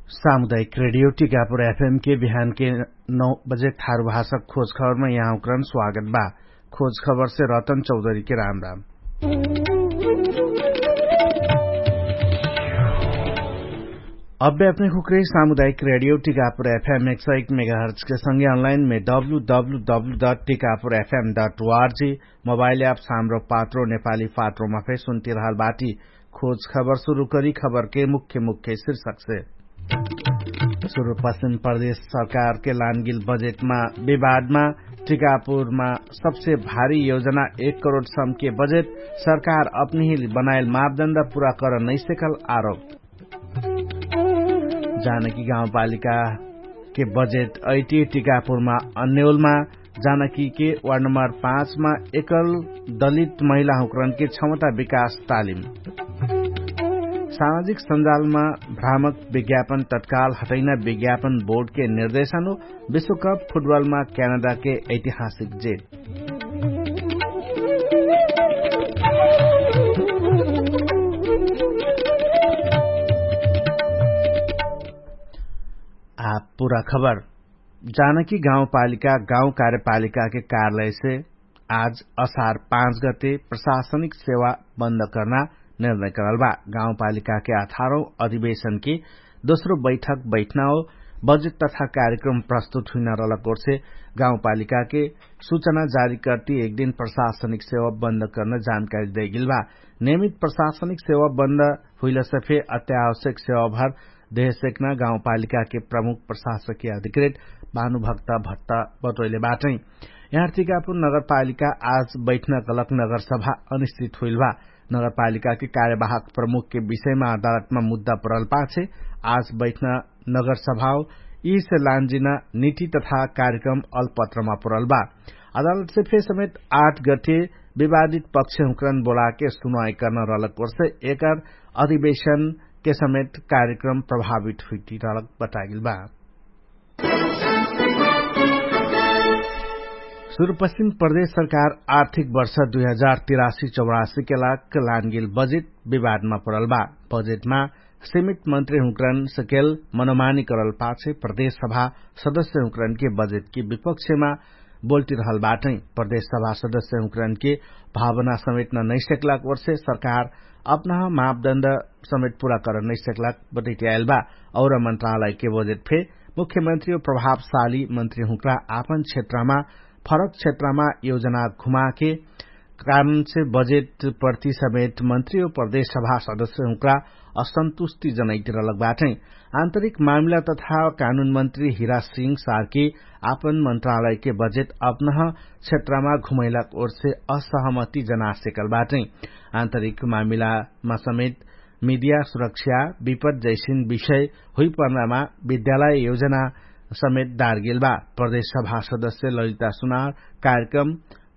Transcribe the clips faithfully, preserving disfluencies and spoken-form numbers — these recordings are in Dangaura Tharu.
सामुदायिक रेडियो टिकापुर एफएम के बिहान के नौ बजे थारु भाषा खोज खबरमा यहाँ उक्रन स्वागत बा। खोज खबर से रतन चौधरी के राम राम। अब्बे अपने खुक्रे सामुदायिक रेडियो टिकापुर एफएम एक सौ एक मेगाहर्च के संगे अनलाइन में W W W dot Tikapur F M dot O R G mobile app Hamro Patro Nepali पात्रोमा फे सुन्तिरहल बाटी। खोज खबर सुरु करी खबरके मुख्य मुख्य शिर्षकसे। सुरु पश्चिम प्रदेश सरकारके लानगिल बजेटमा विवादमा टिकापुरमा सबसे भारी योजना एक करोड सम्के बजेट सरकार अपनिहिल बनाएल मापदण्ड पुरा कर नैसेकल आरोप। जानकी गाउँपालिकाके बजेट ऐटी टिकापुरमा अन्यौलमा जानकीके वार्ड नम्बर पाँचमा एकल दलित महिलाहुँकरनके क्षमता विकास तालिम। सामाजिक सञ्जालमा भ्रामक विज्ञापन तत्काल हटैना विज्ञापन बोर्डके निर्देशनु। विश्वकप फुटबलमा क्यानाडाके ऐतिहासिक जेत। आ पुरा खबर। जानकी गाउँपालिका गाउँ कार्यपालिकाके कार्यालयसे आज असार पाँच गते प्रशासनिक सेवा बन्द कर्ना निर्णय करल बा। गाउँपालिकाके अठारौँ अधिवेशनके दोस्रो बैठक बैठना हो बजेट तथा कार्यक्रम प्रस्तुत हुइना रहलक ओर्से गाउँपालिकाके सुचना जारी कर्ति एक दिन प्रशासनिक सेवा बन्द कर्ना जानकारी दैगेल बा। नियमित प्रशासनिक सेवा बन्द हुइलसे फे अत्यावश्यक सेवाभर देहसेक्ना गाउँपालिकाके प्रमुख प्रशासकीय अधिकृत भानुभक्त भट्ट बटोइले बाटै। यहाँ टिकापुर नगरपालिका आज बैठना कलक नगरसभा अनिश्चित हुइल बा। नगरपालिकाके कार्यवाहक प्रमुखके विषयमा अदालतमा मुद्दा परल पाछे आज बैठना नगरसभाओ यीसे लान्जिना नीति तथा कार्यक्रम अलपत्रमा परल बा। अदालतसे फे समेत आठ गठे विवादित पक्षहुँकरन बोलाके सुनवाई कर्न रहलक ओर्से एकर अधिवेशनके समेत कार्यक्रम प्रभावित हुइटी रहलक बतागेल बा। सुरुपश्चिम प्रदेश सरकार आर्थिक वर्ष दुई हजार तिरासी चौरासीके लाग लानगेल बजेट विवादमा परल बा। बजेटमा सीमित मन्त्री हुँकरन सकेल मनोमानी करल पाछे प्रदेश सभा सदस्य हुँकरनके बजेटके विपक्षमा बोल्टिरहल बाटै। प्रदेश सभा सदस्य हुँकरनके भावना समेटन नैसेकलाक ओर्से सरकार अपनह मापदण्ड समेट पुरा करन नैसेकलाक बटैट्याएल बा। और मन्त्रालयके बजेट फे मुख्यमन्त्री और प्रभावशाली मन्त्री हुँकरा आपन क्षेत्रमा फरक क्षेत्रमा योजना घुमाके कारणसे बजेट प्रति समेत मन्त्री और प्रदेश सभा सदस्य हुँकरा असन्तुष्टि जनैतिरलक बाटै। आन्तरिक मामिला तथा कानुन मन्त्री हिरा सिंह सार्की आपन मन्त्रालयके बजेट अपनह क्षेत्रमा घुमैलाक ओर्से असहमति जनासेकल बाटै। आन्तरिक मामिलामा समेत मिडिया सुरक्षा विपद जैसिन विषय हुइपर्नामा विद्यालय योजना समेत दारगेल बा। प्रदेश सभा सदस्य ललिता सुनार कार्यक्रम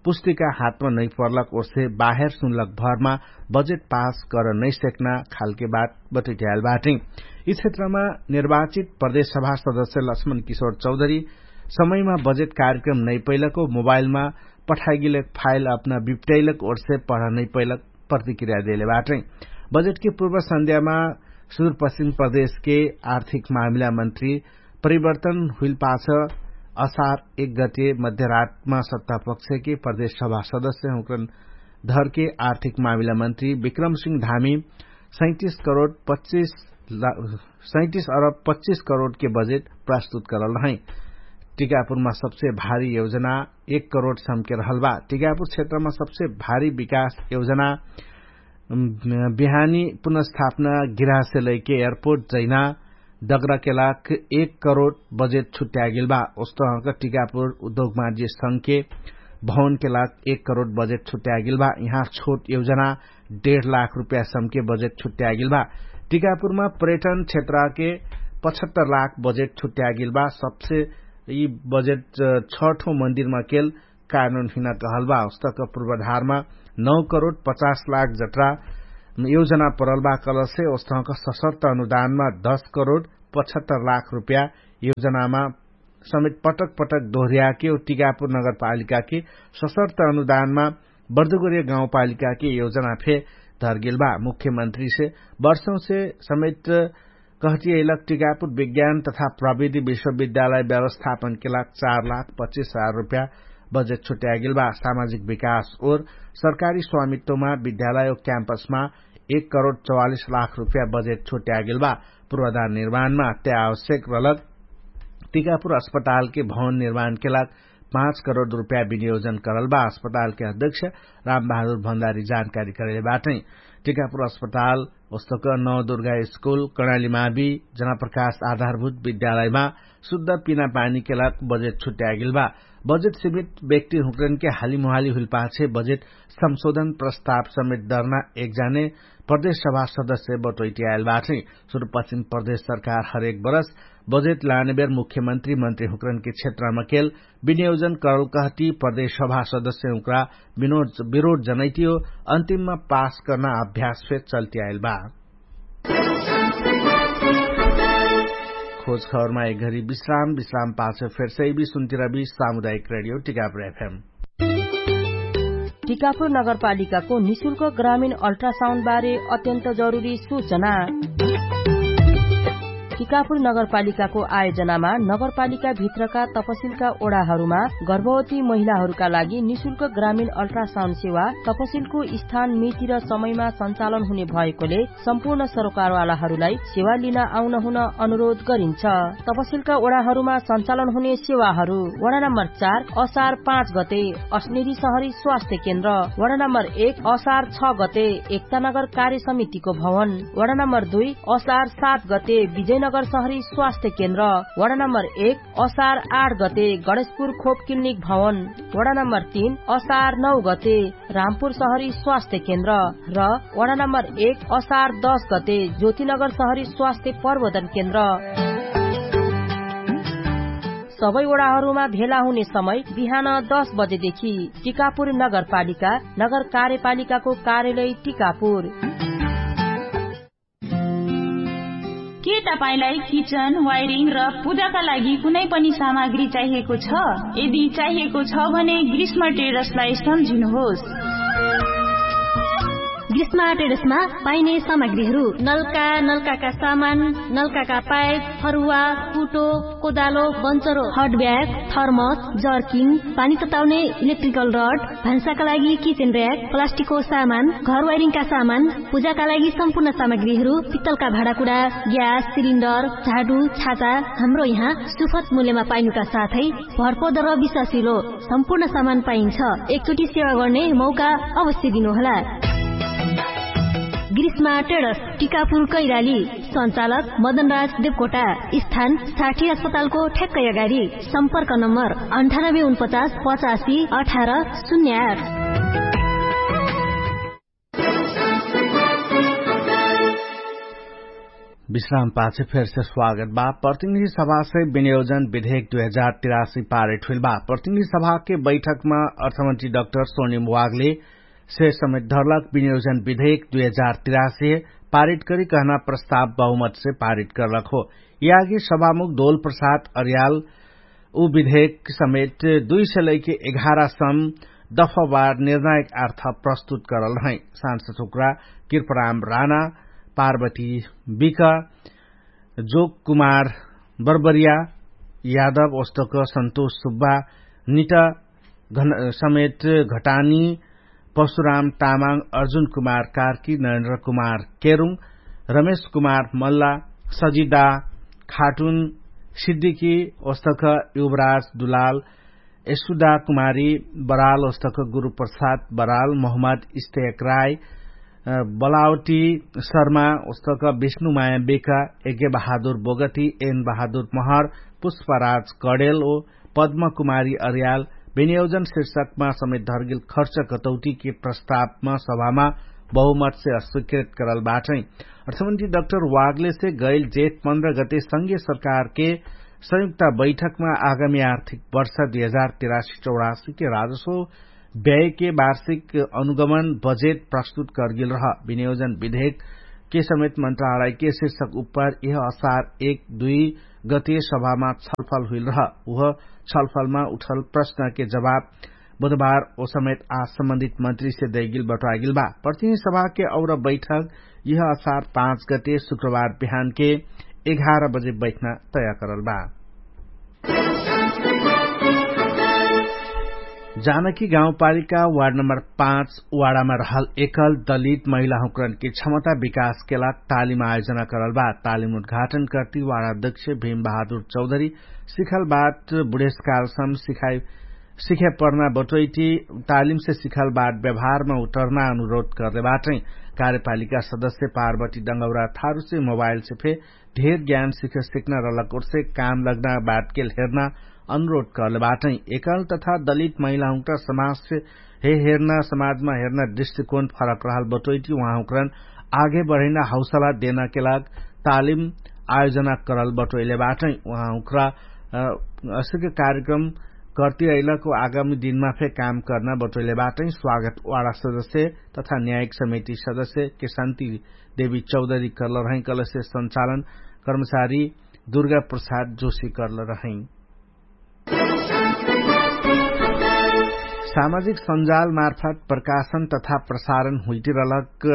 पुस्तिका हातमा नैपर्लक ओर्से बाहेर सुनलक भरमा बजेट पास कर नैसेक्ना खालके बात बटैट्याएल बाटै। यी क्षेत्रमा निर्वाचित प्रदेश सभा सदस्य लक्ष्मण किशोर चौधरी समयमा बजेट कार्यक्रम नैपैलक मोबाइलमा पठाइगेलक फाइल अपना बिप्ट्याइलक ओर्से पढा नैपैलक प्रतिक्रिया देले बाटै। बजेटके पूर्व सन्ध्यामा सुरुपश्चिम प्रदेशके आर्थिक मामिला मन्त्री परिवर्तन हुइल पाछ असार एक गते मध्यरातमा सत्तापक्षके प्रदेश सभा सदस्य हुँकरन धरके आर्थिक मामिला मन्त्री विक्रम सिंह धामी सैतिस करोड पच्चिस सैतिस अरब पच्चिस करोडके बजेट प्रस्तुत करल रहै। टिकापुरमा सबसे भारी योजना एक करोड सम्के रहल बा। टिकापुर क्षेत्रमा सबसे भारी विकास योजना बिहानी पुनर्स्थापना गिरासे लैके एयरपोर्ट जैना दगराके लाग एक करोड बजेट छुट्यागेल बा। ओस्तहक टिकापुर उद्योग मार्जी संघके भवनके लाग एक करोड बजेट छुट्यागेल बा। यहाँ छोट योजना डेढ लाख रुपया सम्के बजेट छुट्यागेल बा। टिकापुरमा पर्यटन क्षेत्रके पचहत्तर लाख बजेट छुट्यागेल बा। सबसे यी बजेट छठो मन्दिरमा केल कानुन हिना कहल बा। उस्तक पूर्वाधारमा नौ करोड पचास लाख जत्रा योजना परल बा कलसे उस्तक सशर्त अनुदानमा दस करोड पचहत्तर लाख रुपया योजनामा समेत पटक पटक दोहर्याके टिकापुर नगरपालिकाके सशर्त अनुदानमा बर्दुगोरिया गाउँपालिकाके योजना फे धरगेल बा। मुख्यमन्त्रीसे वर्षौंसे समेत कहतियैलक टिकापुर विज्ञान तथा प्रविधि विश्वविद्यालय व्यवस्थापनके लाग चार लाख पच्चिस हजार रुपया बजेट छुट्यागेल बा। सामाजिक विकास ओर सरकारी स्वामित्वमा विद्यालय ओ क्याम्पसमा एक करोड चौवालिस लाख रुपया बजेट छुट्यागेल बा। पूर्वाधार निर्माणमा अत्यावश्यक रलक टिकापुर अस्पतालके भवन निर्माणके लाग पाँच करोड रुपया विनियोजन करल बा। अस्पतालके अध्यक्ष रामबहादुर भण्डारी जानकारी करैले बाटै। टिकापुर अस्पताल ओस्तक नवदुर्गा स्कुल कणालीमावी जनप्रकाश आधारभूत विद्यालयमा शुद्ध पिना पानीके लाग बजेट छुट्यागेल बा। बजेट सीमित व्यक्ति हुँकरनके हालिमुहाली हुइलपाछे बजेट संशोधन प्रस्ताव समेत दर्ना एकजाने प्रदेश सभा सदस्य बटोइटियाएल बाटै। सुरुपश्चिम प्रदेश सरकार हरेक बरस बजेट लानेबेर मुख्यमन्त्री मन्त्री हुँकरनके क्षेत्रमाकेल विनियोजन करल कहती प्रदेश सभा सदस्य हुँकरा विरोध जनैतियो अन्तिममा पास कर्ना अभ्यास फेर चल्तियाएल बा। खोज खबरमा एक घरी विश्राम विश्राम पाछ फेर सैबी सुन्तिरबी सामुदायिक रेडियो टिकापुर एफएम। टिकापुर नगरपालिकाको निशुल्क ग्रामीण अल्ट्रासाउन्ड बारे अत्यन्त जरुरी सूचना। टिकापुर नगरपालिकाको आयोजनामा नगरपालिका भित्रका तपसिलका ओडाहरूमा गर्भवती महिलाहरूका लागि निशुल्क ग्रामीण अल्ट्रासाउन्ड सेवा तपसिलको स्थान मिति र समयमा सञ्चालन हुने भएकोले सम्पूर्ण सरोकारवालाहरूलाई सेवा लिन आउन हुन अनुरोध गरिन्छ। तपसिलका ओडाहरूमा सञ्चालन हुने सेवाहरू वडा नम्बर चार असार पाँच गते अस्नेरी सहरी स्वास्थ्य केन्द्र, वडा नम्बर एक असार छ गते एकतानगर कार्य समितिको भवन, वडा नम्बर दुई असार सात गते विजयनगर सहरी स्वास्थ्य केन्द्र, वडा नम्बर एक असार आठ गते गणेशपुर खोप क्लिनिक भवन, वडा नम्बर तीन असार नौ गते रामपुर सहरी स्वास्थ्य केन्द्र र वडा नम्बर एक असार दस गते ज्योतिनगर सहरी स्वास्थ्य प्रबोधन केन्द्र। सबै वडाहरूमा भेला हुने समय बिहान दस बजेदेखि। टिकापुर नगरपालिका नगर कार्यपालिकाको कार्यालय टिकापुर। के तपाईंलाई किचन वायरिङ र पूजाका लागि कुनै पनि सामग्री चाहिएको छ? यदि चाहिएको छ भने ग्रीष्म ट्रेडर्सलाई सम्झिनुहोस्। ग्रीष्म ट्रेडर्समा पाइने सामग्रीहरू नलका नलकाका सामान, नलकाका पाइप, फरुवा, कुटो, कोदालो, बन्चरो, हट ब्याग, थर्मस, जर्किङ, पानी तताउने इलेक्ट्रिकल रड, भान्साका लागि किचेन र्याक, प्लास्टिकको सामान, घर वाइरिङका सामान, पूजाका लागि सम्पूर्ण सामग्रीहरू, पित्तलका भाँडाकुडा, ग्यास सिलिन्डर, झाडु, छाता, हाम्रो यहाँ सुफत मूल्यमा पाइनुका साथै भरपर्दो र विश्वासिलो सम्पूर्ण सामान पाइन्छ। एकचोटि सेवा गर्ने मौका अवश्य दिनुहोला। ग्रीष्मा ट्रेडर्स, टिकापुर कैराली। सञ्चालक मदनराज देवकोटा। स्थान साठी अस्पतालको ठ्याक्कै अगाडि। सम्पर्क नम्बर अन्ठानब्बे उनपचास पचासी अठार शून्य आठ। विश्राम पाछे फेरसे स्वागत बा। प्रतिनिधि सभासे विनियोजन विधेयक दुई हजार तिरासी पारित हुइल बा। प्रतिनिधि सभाके बैठकमा अर्थमन्त्री डाक्टर सोनिम वागले से समेत धरलक विनियोजन विधेयक दुई हजार तिरासी पारित करी कहना प्रस्ताव बहुमतसे पारित करलक हो। यागी सभामुख दोल प्रसाद अर्याल उ विधेयक समेत दुई सय लैके एघार सम दफावार निर्णायक अर्थ प्रस्तुत करल रहै। सांसद हुक्रा कृपराम राणा, पार्वती बिक, जोग कुमार बर्बरिया, यादव ओस्तक सन्तोष सुब्बा, निट समेत घटानी, पशुराम तामाङ, अर्जुन कुमार कार्की, नरेन्द्र कुमार केरुङ, रमेश कुमार मल्ला, सजिदा खाटुन, सिद्धिकी ओस्तक युवराज दुलाल, एसुदा कुमारी बराल ओस्तक गुरुप्रसाद बराल, मोहम्मद इस्तेक राय, बलावटी शर्मा ओस्तक विष्णुमाया बेका, यज्ञ बहादुर बोगती, एन बहादुर महर, पुष्पराज कडेल ओ पद्म कुमारी अर्याल विनियोजन शीर्षकमा समेत धर्गेल खर्च कटौटीके प्रस्तावमा सभामा बहुमतसे अस्वीकृत करल बाटै। अर्थमन्त्री डाक्टर वागलेसे गैल जेठ पन्ध्र गते संघीय सरकारके संयुक्त बैठकमा आगामी आर्थिक वर्ष दुई हजार तिरासी चौरासीके राजस्व व्ययके वार्षिक अनुगमन बजेट प्रस्तुत करगेल रह। विनियोजन विधेयकके समेत मन्त्रालयके शीर्षक उपर यह असार एक दुई गते सभामा छलफल हुइल रह। उह छलफलमा उठल प्रश्नके जवाब बुधबार ओ समेत आज सम्बन्धित मन्त्रीसे दैगेल बटवागेल बा। प्रतिनिधि सभाके और बैठक यह असार पाँच गते शुक्रबार बिहानके एघार बजे बैठना तय करल बा। जानकी गाउँपालिका वार्ड नम्बर पाँच वाडामा रहल एकल दलित महिलाहुँकरनके क्षमता विकासके लाग तालिम आयोजना करल बा। तालिम उद्घाटन कर्ति वाडा अध्यक्ष भीम बहादुर चौधरी सिखल बात बुढेसकालसम सिखाइ सिखे पर्ना बटोइटी तालिमसे सिखल बात व्यवहारमा उटर्ना अनुरोध करले बाटै। कार्यपालिका सदस्य पार्वती डङ्गौरा थारुसे मोबाइलसे फे ढेर ज्ञान सिख सिक्ना रहलक ओर्से काम लग्ना बातकेल हेर्ना अनुरोध करले बाटै। एकल तथा दलित महिलाहुँका समाजसे हे हेर्ना समाजमा हेर्ना दृष्टिकोण फरक रहल बटोइटी उहाँहुँकरन आगे बढैना हौसला देनाके लाग तालिम आयोजना करल बटोइले बाटै। उहाँहुँकरा असिक कार्यक्रम कर्ति अइलक आगामी दिनमा फे काम कर्ना बटोइले बाटै। स्वागत वाडा सदस्य तथा न्यायिक समिति सदस्य के शान्ति देवी चौधरी कर्ल रहै कलसे सञ्चालन कर्मचारी दुर्गा प्रसाद जोशी कर्ल रहै। सामाजिक सञ्जाल मार्फत प्रकाशन तथा प्रसारण हुइटिरलक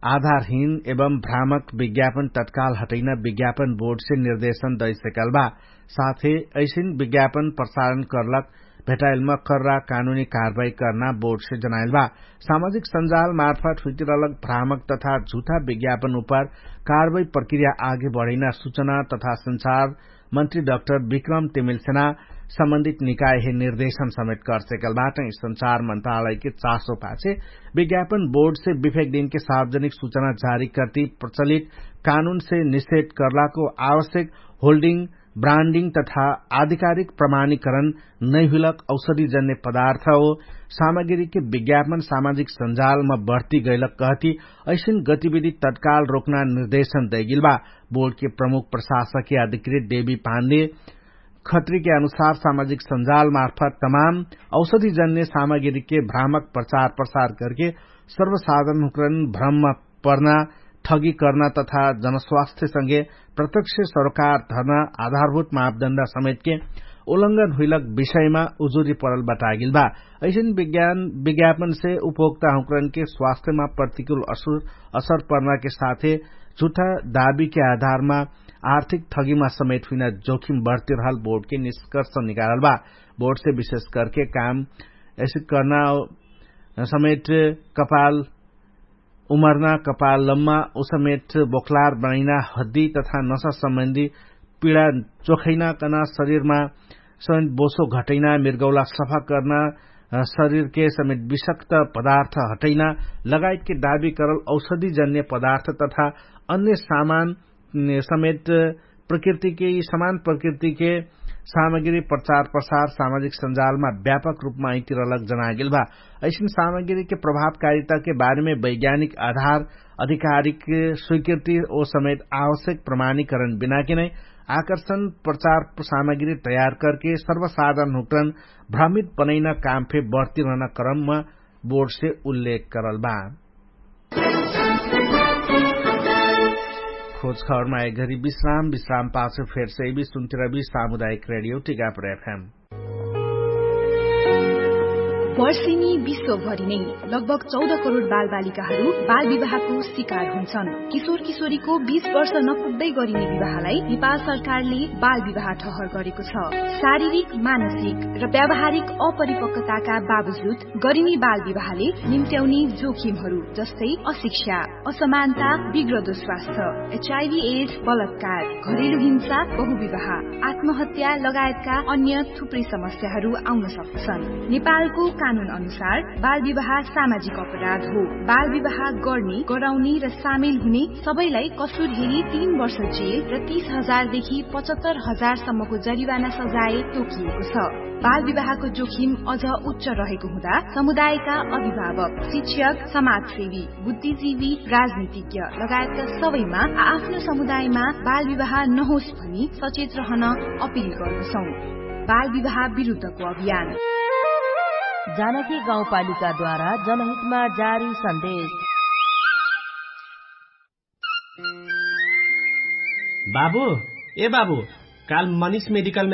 आधारहीन एवं भ्रामक विज्ञापन तत्काल हटैना विज्ञापन बोर्डसे निर्देशन दैसकल बा। साथे ऐसिन विज्ञापन प्रसारण कर्लक भेटाइलमा कर्रा कानुनी कारवाही कर्ना बोर्डसे जनाइल बा। सामाजिक सञ्जाल मार्फत हुइटिरलक भ्रामक तथा झुठा विज्ञापन उपर कारवाही प्रक्रिया आगे बढैना सुचना तथा सञ्चार मन्त्री डाक्टर विक्रम तिमिलसेना सम्बन्धित निकायहे निर्देशन समेत कर्सेकल बाटै। सञ्चार मन्त्रालयके चासो पाछे विज्ञापन बोर्डसे विफेक दिनके सार्वजनिक सुचना जारी कर्ति प्रचलित कानुनसे निषेध कर्लाको आवश्यक होल्डिङ ब्रान्डिङ तथा आधिकारिक प्रमाणीकरण नैहुइलक औषधिजन्य पदार्थ हो सामग्रीके विज्ञापन सामाजिक सञ्जालमा बढ्ती गैलक कहती ऐसिन गतिविधि तत्काल रोक्ना निर्देशन दैगिल बा। बोर्डके प्रमुख प्रशासकके अधिकृत देवी पाण्डे खत्रीके अनुसार सामाजिक सञ्जाल मार्फत तमाम औषधिजन्य सामग्रीके भ्रामक प्रचार प्रसार करके सर्वसाधारण हुँकरन भ्रममा पर्ना ठगी कर्ना तथा जनस्वास्थ्यसँगे प्रत्यक्ष सरोकार धर्ना आधारभूत मापदण्ड समेतके उल्लङ्घन हुइलक विषयमा उजुरी परल बतागिल बा। ऐसिन विज्ञापनसे उपभोक्ता हुँकरनके स्वास्थ्यमा प्रतिकूल असर पर्नाके साथे झुठा दाबीके आधारमा आर्थिक ठगीमा समेत हुइना जोखिम बढ्तिरहल बोर्डके निष्कर्ष निकारल बा। बोर्डसे विशेष करके काम ऐसे कर्ना समेत कपाल उमर्ना कपाल लम्मा उसमेत बोखलार बनैना हद्दी तथा नसा सम्बन्धी पिडा चोखैना कना शरीरमा समेत बोसो घटैना मिर्गौला सफा कर्ना शरीरके समेत विषक्त पदार्थ हटैना लगायतके दाबी करल औषधिजन्य पदार्थ तथा अन्य सामान समेत प्रकृतिके यि समान प्रकृतिके सामग्री प्रचार प्रसार सामाजिक सञ्जालमा व्यापक रूपमा अइतिरलक जनागेल बा। ऐसिन सामग्रीके प्रभावकारिताके बारेमे वैज्ञानिक आधार अधिकारिक स्वीकृति ओ समेत आवश्यक प्रमाणीकरण बिनाके नै आकर्षण प्रचार सामग्री तयार करके सर्वसाधारण हुँकरन भ्रमित बनैना काम फे बढ्तिरहना क्रममा बोर्डसे उल्लेख करल बा। खोज खबरमा एक घरी विश्राम विश्राम पाछे फेर से भी सुन्तिरबी सामुदायिक रेडियो टिकापुर एफएम। वर्षिनी विश्वभरि नै लगभग चौध करोड बालबालिकाहरू बालविवाहको शिकार हुन्छन्। किशोर किशोरीको बीस वर्ष नपुग्दै गरिने विवाहलाई नेपाल सरकारले बालविवाह ठहर गरेको छ। शारीरिक, मानसिक र व्यावहारिक अपरिपक्वताका बावजुद गरिने बालविवाहले निम्त्याउने जोखिमहरू जस्तै अशिक्षा, असमानता, बिग्रदो स्वास्थ्य, एचआइभी एड्स, बलात्कार, घरेलु हिंसा, बहुविवाह, आत्महत्या लगायतका अन्य थुप्रै समस्याहरू आउन सक्दछन्। नेपालको कानुन अनुसार बालविवाह सामाजिक अपराध हो। बालविवाह गर्ने, गराउने र सामेल हुने सबैलाई कसुर हेरी तीन वर्ष जेल र तीस हजार देखि पचहत्तर हजार सम्मको जरिवाना सजाय तोकिएको छ। बालविवाहको जोखिम अझ उच्च रहेको हुँदा समुदायका अभिभावक, शिक्षक, समाजसेवी, बुद्धिजीवी, राजनीतिज्ञ लगायतका सबैमा आ आफ्नो समुदायमा बालविवाह नहोस् भनी सचेत रहन अपिल गर्दछौँ। बालविवाह विरुद्धको अभियान। जानकी गाउँपालिकाद्वारा जनहितमा जारी सन्देश। बाबु, ए बाबु, काल मनिष मेडिकल